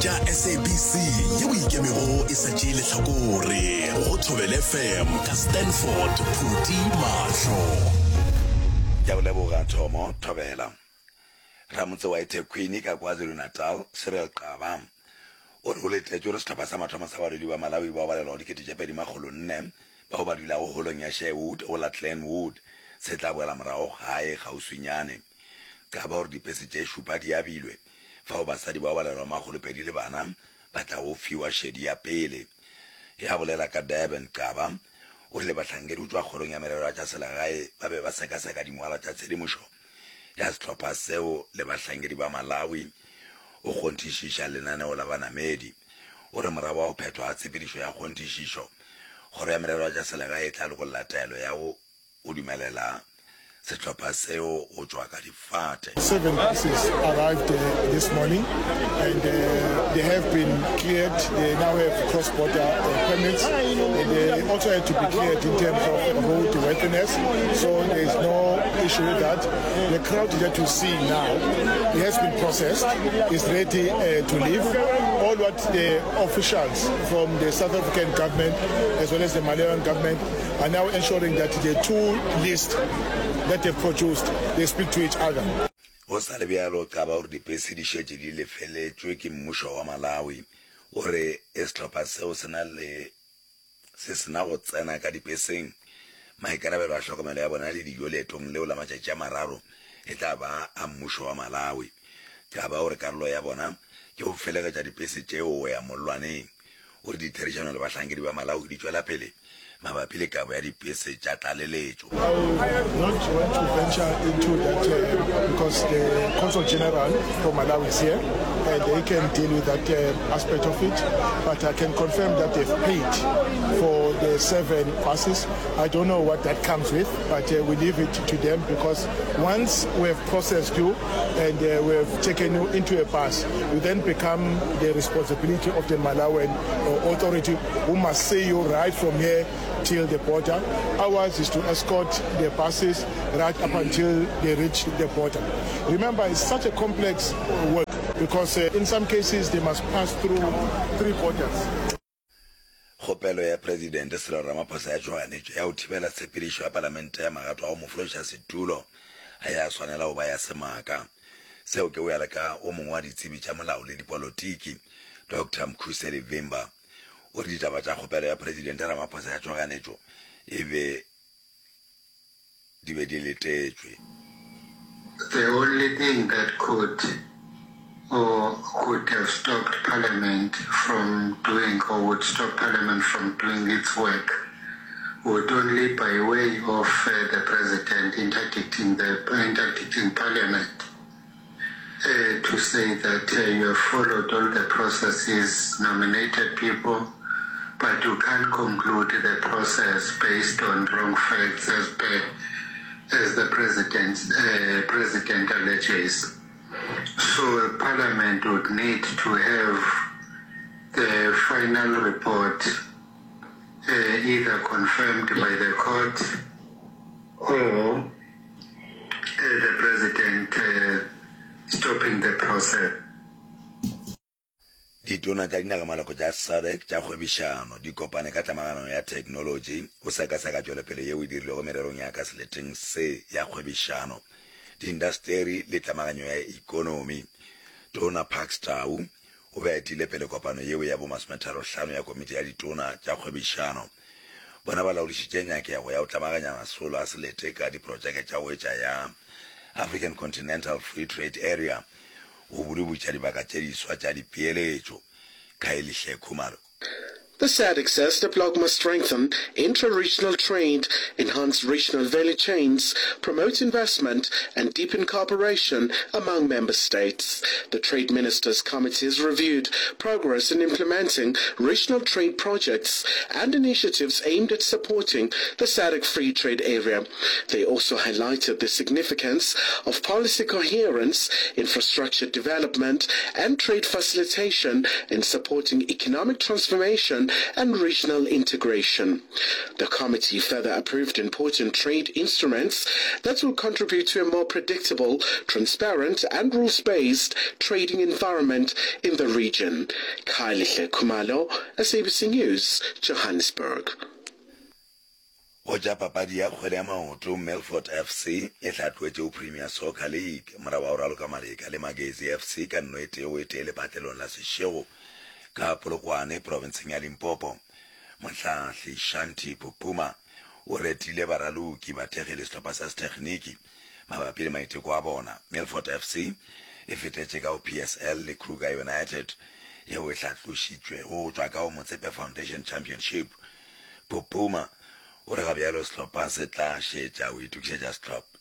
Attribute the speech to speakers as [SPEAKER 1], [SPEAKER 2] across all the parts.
[SPEAKER 1] Tša SABC yeo e ikemego e sa tšee lehlakore go Thobela FM ka Stanford Phuti Mahlo.
[SPEAKER 2] Ke a go leboga Thomo Thobela. Ramotse wa eThekwini ka KwaZulu-Natal, Cyril Xaba, o re o letetše gore sehlopha sa mathomo sa badudi ba Malawi bao balelwago 2400 bao ba dulago holong ya Sherwood go la Glenwood se tla boela morago gae kgauswinyane. Xaba o re dipese tše šupa di abilwe fao basadi bao balelwago 200 le bana ba tlago fiwa šedi ya pele. Ge a bolela ka Durban, Xaba o rile bahlankedi go tšwa Kgorong ya Merero ya tša Selegae ba be ba sekaseka dingwalwa tša tshedimošo ya sehlopha seo le bahlankedi ba Malawi o kgonthišiša lenaneo la banamedi. O re morago ga go phethwa ga tshepedišo ya kgonthišišo, Kgoro ya Merero ya tša Selegae e tla lokolla taelo ya go go dumelela sehlopha seo go tšwa ka difate.
[SPEAKER 3] Seven buses arrived this morning and they have been cleared. They now have cross-border permits and they also had to be cleared in terms of road worthiness. So there is no issue with that. The crowd that you see now, it has been processed, is ready uh, to leave. All what the officials from the South African government as well as the Malawian government are now ensuring that the two lists that they've produced, they speak to each other.
[SPEAKER 2] Go sa le bjalo, Xaba o re dipese di šetše di lefeletšwe ke mmušo wa Malawi. O re sehlopha seo se na le se se na go tsena ka dipeseng. Maikarabelo a hlokomelo ya bona le dijo leetong leo la matšatši a mararo e tla ba a mmušo wa Malawi. Xaba o re karolo ya bona ke go felegetša dipese tšeo go ya mollwaneng. O re ditherišano le bahlankedi ba Malawi di tšwela pele mabapi le kabo ya dipese tša tlaleletšo.
[SPEAKER 3] I will not want to venture into that because the Consul General for Malawi is here and they can deal with that aspect of it. But I can confirm that they've paid for the seven buses. I don't know what that comes with, but we leave it to them because once we have processed you and we have taken you into a bus, you then become the responsibility of the Malawian authority who must see you right from here till the border. Ours is to escort the buses right up until they reach the border. Remember, it's such a complex work because uh, in some cases they must pass through three borders.
[SPEAKER 2] Kgopelo ya Presidente Cyril Ramaphosa ya tšhoganetšo ya go thibela tshepedišo ya Palamente ya magato a go mo fološa setulo ga ya swanela go ba ya semaka. Seo ke go ya le ka o mongwe wa ditsebi tša molao le dipolotiki, Doctor Mkhuseli Vimba. O re ditaba tša kgopelo ya Presidente Ramaphosa ya tšhoganetšo e be di be di letetšwe.
[SPEAKER 4] The only thing that could or could have stopped parliament from doing or would stop parliament from doing its work would only by way of uh, the president interdicting the interdicting parliament uh, to say that uh, you have followed all the processes, nominated people, but you can't conclude the process based on wrong facts as per as the president, uh, president alleges. So Parliament would need to have the final report uh, either confirmed by the court or uh, the president uh, stopping the process.
[SPEAKER 2] Ditona tša dinagamaloko tša SADC tša kgwebišano di kopane ka tlamagano ya theknolotši go sekaseka tšwelopele yeo e dirilwego mererong ya ka seleteng se ya kgwebišano, diindasteri le tlamaganyo ya ekonomi. Tona Parks Tau o be a etile pele kopano yeo ya bomasometharo-hlano ya komiti ya ditona tša kgwebišano. Bona ba laodišitše nyakego ya go tlamaganya masolo a selete ka diprotšeke tša go etša ya African Continental Free Trade Area go budubutša dibaka tše diswa tša dipeeletšo. Khayelihle Khumalo.
[SPEAKER 5] The SADC says the bloc must strengthen intra-regional trade, enhance regional value chains, promote investment and deepen cooperation among member states. The Trade Ministers Committee has reviewed progress in implementing regional trade projects and initiatives aimed at supporting the SADC Free Trade Area. They also highlighted the significance of policy coherence, infrastructure development and trade facilitation in supporting economic transformation cooperation and regional integration. The committee further approved important trade instruments that will contribute to a more predictable, transparent and rules-based trading environment in the region. Khayelihle Khumalo, SABC News, Johannesburg.
[SPEAKER 2] Go tša papadi ya kgwele ya maoto, Milford FC e hlatloetše go Premier Soccer League morago ga go raloka Maleka le Magezi FC ka nno e tee go e tee lepatlelong la Seshego ka Polokwane profenseng ya Limpopo. Mohlahli Shanti Pupuma o retile baraloki, bathekgi le sehlopha sa sethekgniki mabapi le maiteko a bona. Milford FC e fetetše ka go PSL le Kruger United yeo e hlatlošitšwego go tšwa ka go Motsepe Foundation Championship. Pupuma o re ga bjalo sehlopha se tla šetša go itokišetša sehlopha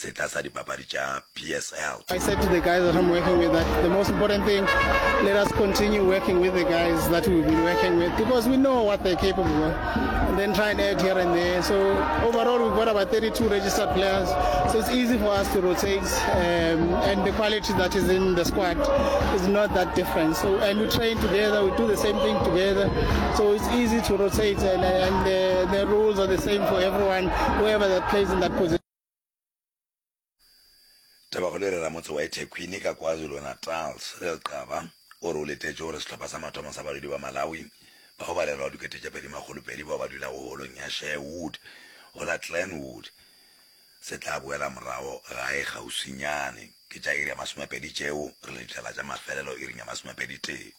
[SPEAKER 2] setla sa dipapadi tša PSL.
[SPEAKER 6] I said to the guys that I'm working with that the most important thing, let us continue working with the guys that we've been working with because we know what they're capable of and then try and add here and there. So overall we've got about 32 registered players so it's easy for us to rotate um, and the quality that is in the squad is not that different. So and we train together, we do the same thing together. So it's easy to rotate and, and the, the rules are the same for everyone, whoever that plays in that position.
[SPEAKER 2] Tabakgolo e re ramotse wa eThekwini ka KwaZulu-Natal, Cyril Xaba, o re o letetše gore sehlopha sa mathomo sa badudi ba Malawi bao ba lelwago dikete tše 2,200 bao ba dulago holong ya Sherwood go la Glenwood se tla boela morago gae kgauswinyane. Ke tša iri ya masomepedi tšeo, re le ditala tša mafelelo iring ya masomepeditee.